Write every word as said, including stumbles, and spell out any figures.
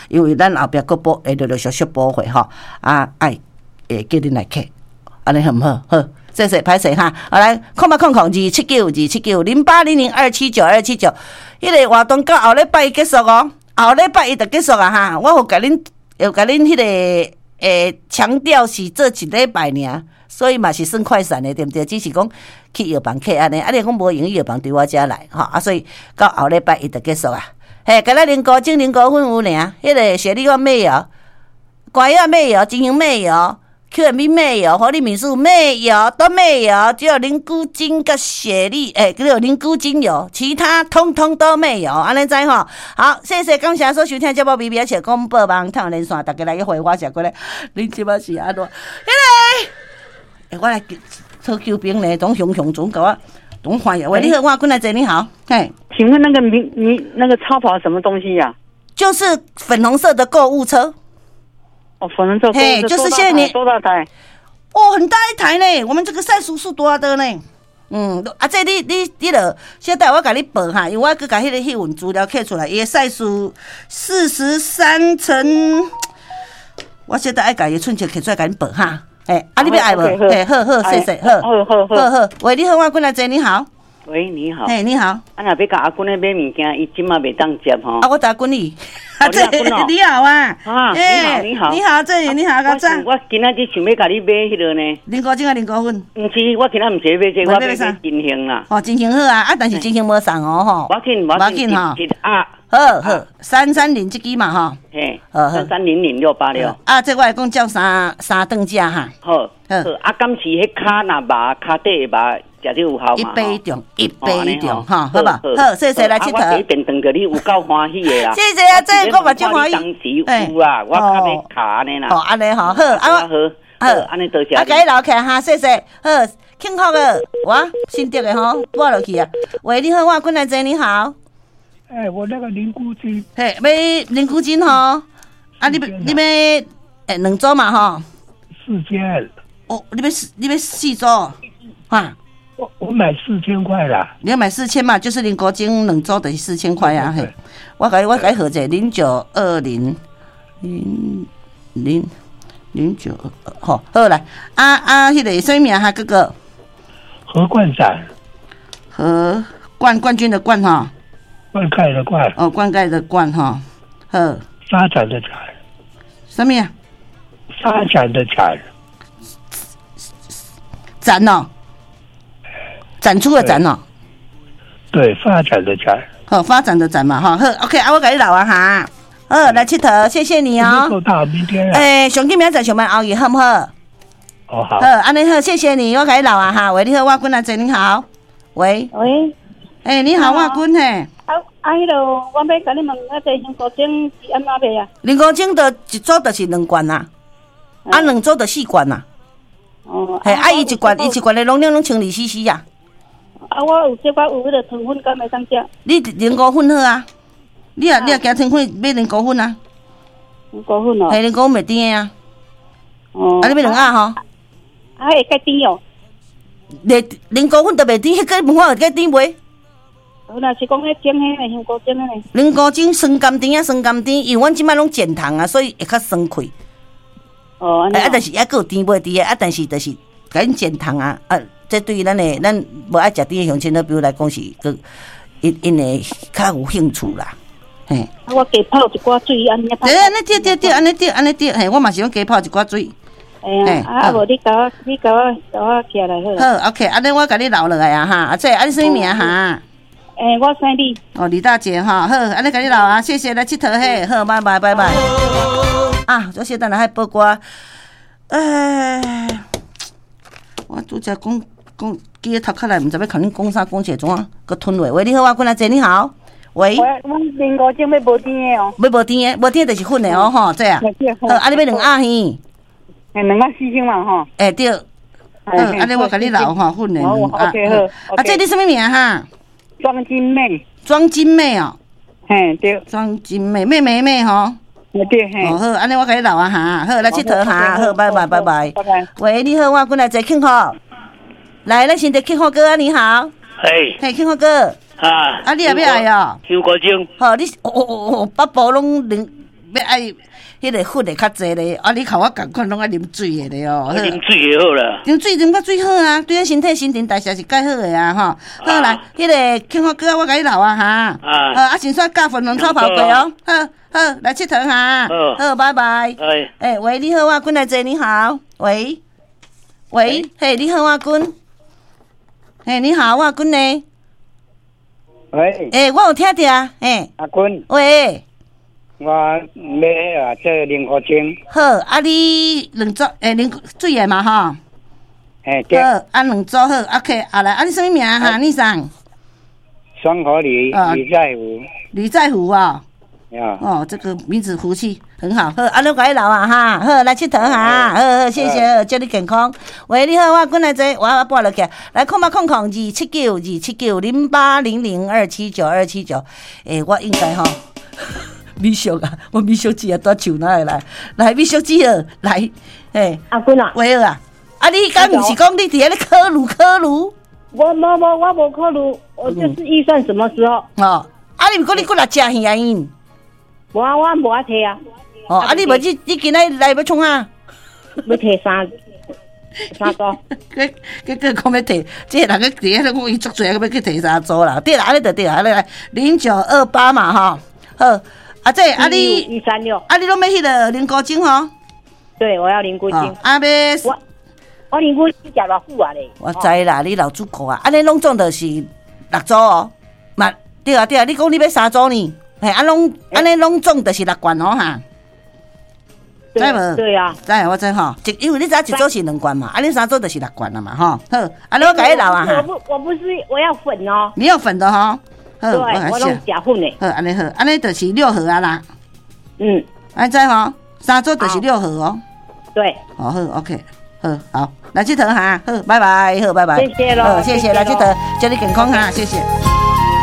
因為咱後壁閣補會陸陸續續補貨吼，啊愛會叫恁來客，按呢好毋好？好，謝謝歹勢哈，好來空八空空二七九二七九零八零零二七九二七九，彼個活動到後禮拜一結束哦，後禮拜一就結束啊哈，我有共恁有共恁彼個會強調是做一禮拜爾，所以嘛是算快閃的，對毋對？只是講去藥房客按呢，啊你講無閒去藥房對我遮來，吼啊，所以到後禮拜一就結束啊。嘿，敢若靈菇精、靈菇粉有爾，彼個雪莉我沒有，瓜仔沒有，金銀沒有，Q M B 沒有，活力美素沒有，都沒有，只有靈菇精佮雪莉，欸，只有靈菇精有，其他通通都沒有，按呢知吼？好，謝謝感謝所收聽節目，B B 笑廣播網透連線，大家來約會，我食過來，恁這擺是按怎？彼個，欸，我來討救兵呢，總雄雄總共我總歡喜。喂，你好，我過來坐，你好，嘿。請問那個迷你那個超跑什麼東西呀？就是粉紅色的購物車。哦，粉紅色。嘿，就是現在你多大台？哦，很大一台呢。我們這個賽數數多的呢。嗯，啊，這你你你著小等我共你報哈，因為我閣共彼個彼份資料摕出來，伊的賽數四十三乘，我小等愛共伊寸尺摕出來共你報哈。欸，啊，你欲愛無？欸，好好，謝謝，好，好好好好。喂，你好，我過來坐，你好。喂，你好。嘿，你好。啊，若欲共阿君咧買物件，伊這馬袂當接吼。啊，我阿君你。啊，這你好啊。啊，你好，你好。你好，這你好，我我今仔日想欲共你買彼个呢。靈菇精啊，靈菇粉。毋是，我今仔毋是欲買這個，我欲買金杏啦。哦，金杏好啊，啊，但是金杏無送哦，吼。無要緊，無要緊吼。啊。好好，三三零這支嘛，吼。嘿。三三零零六八六。啊，這我會講照三三頓食哈。好。好。啊，敢是彼跤若肉，跤底的肉。食了有效一杯中，一杯中，哈，好無？好，謝謝來𨑨迌。我第一遍碰著你有夠歡喜的啦。謝謝啊，這我嘛足歡喜。當時有啊，我較欲跤按呢啦。哦，按呢吼，好，啊，好，好，按呢多謝。啊，共你留起來哈，謝謝，好，幸福的，我新竹的吼，撥落去啊。喂，你好，我君來坐，你好。欸，我那個靈菇精。嘿，欲靈菇精吼，啊，你欲你欲欸兩組嘛吼？四千。哦，你欲四，你欲四組，哈？我我買四千塊啦。你要買四千嘛？就是靈菇精兩組等於四千塊啊！嘿，我共我共號者零九二零零零零九，好，好來，啊啊，彼個啥物名哈哥哥？何冠展。何冠冠軍的冠哈？灌溉的灌。哦，灌溉的灌哈，好。發展的展。啥物啊？發展的展。展哦。展出的展哦，對，發展的展，好，發展的展嘛，哈，好，OK，啊，我共你留啊，哈，好，來𨑨迌，謝謝你哦。夠大，明天。欸，上緊明仔載上班後日好毋好？哦好。好，按呢好，謝謝你，我共你留啊，哈，喂，你好，我君來坐，你好，喂。喂。欸，你好，我君嘿。啊啊，彼个我欲共你問，啊，這香菇精是按怎賣啊？靈菇精就一組就是兩罐啊，啊，兩組就四罐啊。哦。嘿，啊，伊一罐，伊一罐的容量攏千二 C C 啊。啊，我有這寡有彼个糖粉，敢會當食？你靈菇粉好啊，你若你若驚糖粉，買靈菇粉啊。靈菇粉哦。嘿，靈菇粉袂甜的啊。哦。啊，你欲兩盒吼？啊，會較甜哦。袂，靈菇粉都袂甜，彼個問我會較甜袂？若是講彼蒸彼个香菇蒸彼个。靈菇精酸甘甜啊，酸甘甜，因為阮這擺攏減糖啊，所以會較酸氣。哦，啊，但是猶閣有甜味佇的，啊，但是就是共恁減糖啊，啊。這對於咱的咱無愛食甜的鄉親好朋友來講是閣𪜶𪜶會較有興趣啦，嘿。啊，我加泡一寡水按呢。對，按呢對對對，按呢對按呢對，嘿，我嘛是攏加泡一寡水。嘿啊，啊無你共我，你共我，共我寄來好。好，OK，按呢我共你留落來啊哈，啊這啊你啥物名哈？欸，我姓李。哦，李大姐哈，好，按呢共你留啊，謝謝來𨑨迌嘿，好，拜拜拜拜。啊，這小等下愛報歌，欸，我拄才講。講記咧頭殼內，毋知欲共恁講啥，講起來怎啊？閣吞落。喂，你好，我君來坐，你好。喂。喂，阮靈菇精欲無甜的哦。欲無甜的，無甜的就是粉的哦，吼，這啊。好，啊，你欲兩盒耳？欸，兩盒四千嘛，吼。欸，對。好，按呢我共你留吼，粉的兩盒。 OK，好。啊，這你啥物名哈？莊金妹。莊金妹哦。嘿，對。莊金妹，妹妹妹吼。對，嘿。哦，好，按呢我共你留啊哈，好，來𨑨迌哈，好，拜拜拜拜。拜拜。喂，你好，我君來坐，慶福。來，咱先得慶福哥啊，你好。嘿。嘿，慶福哥。啊。啊，你也欲愛哦？香菇精。好，你哦哦哦，北部攏靈欲愛彼个粉的較濟咧，啊，你共我仝款攏愛啉水的咧哦。啉水就好啦。啉水啉較水好啊，對咱身體新陳代謝是蓋好的啊，吼。好來，彼个慶福哥，我共你留啊，哈。啊。啊，先煞教粉紅草跑過哦。好，好，來𨑨迌哈。好，拜拜。哎。欸，喂，你好啊，君來坐，你好。喂，喂，嘿，你好啊，君。嘿，你好啊，君呢？喂。欸，我有聽著啊，嘿。阿君。喂。我欲啊做龍骨精。好，啊你兩組，欸，啉水的嘛吼。嘿，對。好，啊兩組好，OK，啊來，啊你啥物名哈？你啥？雙口呂，呂在福。呂在福啊。哦，這個名字福氣很好。好，啊，你共你留啊哈，好，來𨑨迌哈，好好，謝謝，祝你健康。喂，你好，我君來坐，我我撥落去，來空八空空二七九二七九零八零零二七九二七九。欸，我應該吼，美淑啊，我美淑姊啊，蹛樹哪會來？來，美淑姊好，來，欸，阿君啊，喂啊，啊，你敢毋是講你佇遐咧考慮考慮？我無無，我無考慮，我就是預算什麼時候？哦，啊，你毋講你過來食魚啊？因？無啊，我無愛提啊。哦，啊，你無你你今仔來欲創啥？欲提三三組。結結果講欲提，這個人咧佇遐咧講伊足濟，閣欲去提三組啦。對啦，按呢就對啦，按呢來零九二八嘛吼。好，啊這啊你一三六，啊你攏欲彼个龍骨精吼？對，我要龍骨精。啊欲我我龍骨精食偌久啊咧？我知啦，你老主顧啊，按呢攏總就是六組哦。嘛對啊對啊，你講你欲三組呢？嘿，啊攏按呢攏總就是六罐哦哈。知無？對啊，知我知吼，一因為你知影一組是兩罐嘛，啊你三組就是六罐啦嘛吼。好，啊你我共你留啊哈。我不我不是我要粉哦。你要粉的吼。好，對，我攏食粉的。好，按呢好，按呢就是六盒啊啦。嗯。按知吼，三組就是六盒哦。對。哦好，OK，好，好，來𨑨迌哈，好，拜拜，好，拜拜。謝謝囉，好，謝謝，來𨑨迌，祝你健康哈，謝謝。